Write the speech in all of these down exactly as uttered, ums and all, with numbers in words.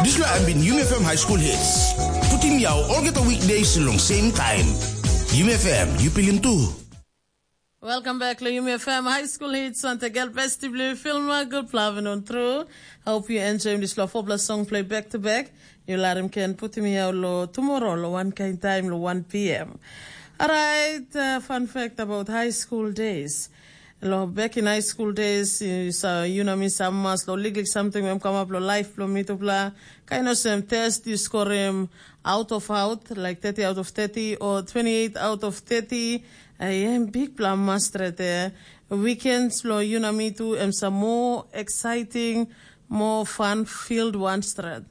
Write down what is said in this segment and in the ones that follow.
Dispela em bin Yumi F M High School Hits. Putim yau olgeta weekdays long same time. Yumi F M, yu pilim tu. Welcome back to Yumi F M High School Hits. Santa Girl Festival Filma, good plavin on through. Hope you enjoy this love of song play back to back. You let him can put me out lo tomorrow lo one kind time lo one p.m. Alright, uh, fun fact about high school days. Lo back in high school days, you saw you know me some mas lo liklik something when come up lo life lo mitupla. Kind of same test you score him out of out, like thirty out of thirty or twenty-eight out of thirty. I am big pla master there. Weekends lo you know me too, and some more exciting, more fun filled one straight.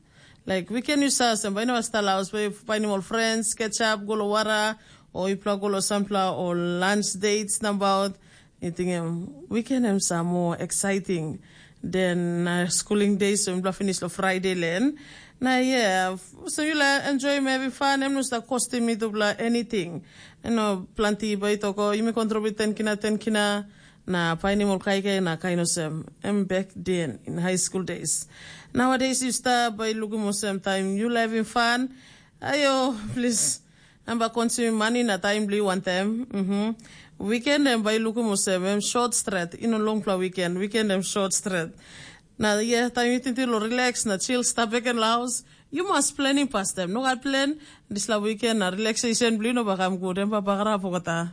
Like weekend you saw some by no style house, by finding all friends, catch up, go lo wara, or you plug all or sampla or lunch dates about. You think um, weekend em sa more exciting than uh, schooling days so mipela finish lo Friday len. Na yeah, so you la enjoy maybe fun em no sta costing me to bla anything. You know, plenty by toko, you may contribute ten kina, ten kina, na painim ol kaikai na kain olsem. Em back then in high school days. Nowadays you start by looking olsem time you having fun. Ayo, please. Em ba konsumim mani na taim bilong yu wantaim. Mhm. Weekend em bai lukim olsem em short stret, i no longpela weekend, weekend em short stret. Na yeah, taim yu tingting long relax na chill stap bek en long haus, yu mas planim pastaim. Nogat plan, dispela weekend na relaxation bilong yu no bakam gut, em ba bagarap olgeta.